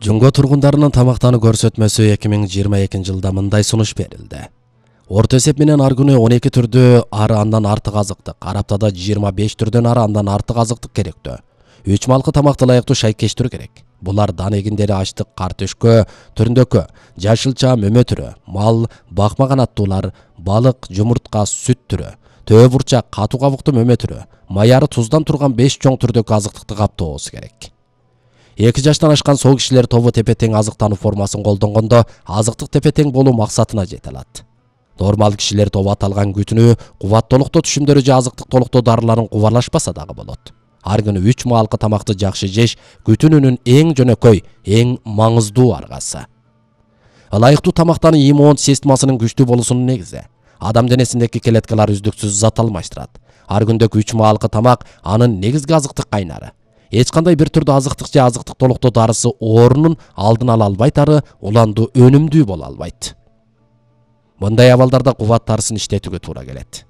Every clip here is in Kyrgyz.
Жунго тургундарынын тамактануу көрсөтмөсү 2022 жылда мындай сунуш берилди. Орто эсеп менен ар күнү 12 түрдө ары андан артык азыктык, ар аптада 25 түрдөн ары андан артык азыктык керектүү. 3 малкы тамакты ылайыктуу шайкештирүү керек. Булар дан эгиндери, ачлык, картөшкө, түрүндөккө, жашылча, мөмө түрү, мал, бакма канаттуулар, балык, жумуртка, сүт түрү, төө бурчак, катуу кабыктуу мөмө түрү, маяры туздан турган 5 чоң түрдөгү азыктыкты каптоосу керек. 2 жаштан ашкан соо кишилер тобу тепе-тең азыктануу формасын колдонгондо азыктык тепе-тең болуу максатына жете алат. Нормал кишилер тобу аталган күтүнүү, кубаттуулуктоо түшүмдөрү же азыктык толуктоо дарыларын кубарлашпаса дагы болот. Ар күнү 3 маалкы тамакты жакшы жеш күтүнүүнүн эң жөнөкөй, эң маңыздуу аргасы. Ылайыктуу тамактануу иммун системасынын күчтүү болуусунун негизи. Адам денесиндеги клеткалар үздүксүз зат алмаштырат. Ар күндөгү 3 маалкы тамак анын негизги азыктык кайнары. Эч кандай бир түрдө азыктык же азыктык толуктоо дарысы орунун алдын ала албайтары уланду өнүмдүү боло албайт. Мындай абалдарда кубат дарысын иштетүүгө туура келет.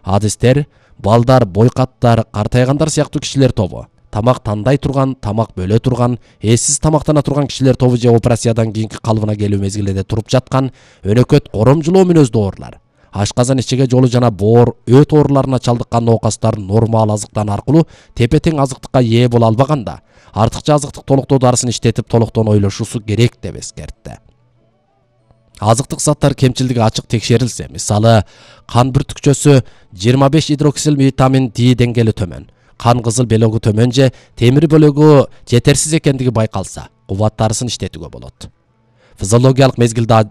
Адистер, балдар, бойкаттар, картайгандар сыяктуу кишилер тобу, тамак тандай турган, тамак бөлө турган, эссиз тамактана турган кишилер тобу же операциядан кийинки калыбына келүү мезгилинде туруп жаткан, өнөкөт, коромжулоо мүнөздүү оорулар, ашказан ичиге жолу жана боор, өт ооруларына чалдыккан ноокастар нормал азыктан аркылуу тепе-тең азыктыкка ээ боло албаганда, артыкча азыктык толуктоо дарысын иштетип толуктоон ойлошуусу керек деп эскертти. Азыктык заттар кемчилдиги ачык текшерилсе, мисалы, кан бүртүкчөсү 25 гидроксил витамин D деңгээли төмөн, кан кызыл белогу төмөн же темир бөлүгү жетерсиз экендиги байкалса, кубат дарысын иштетүүгө болот. Физиологиялык мезгилде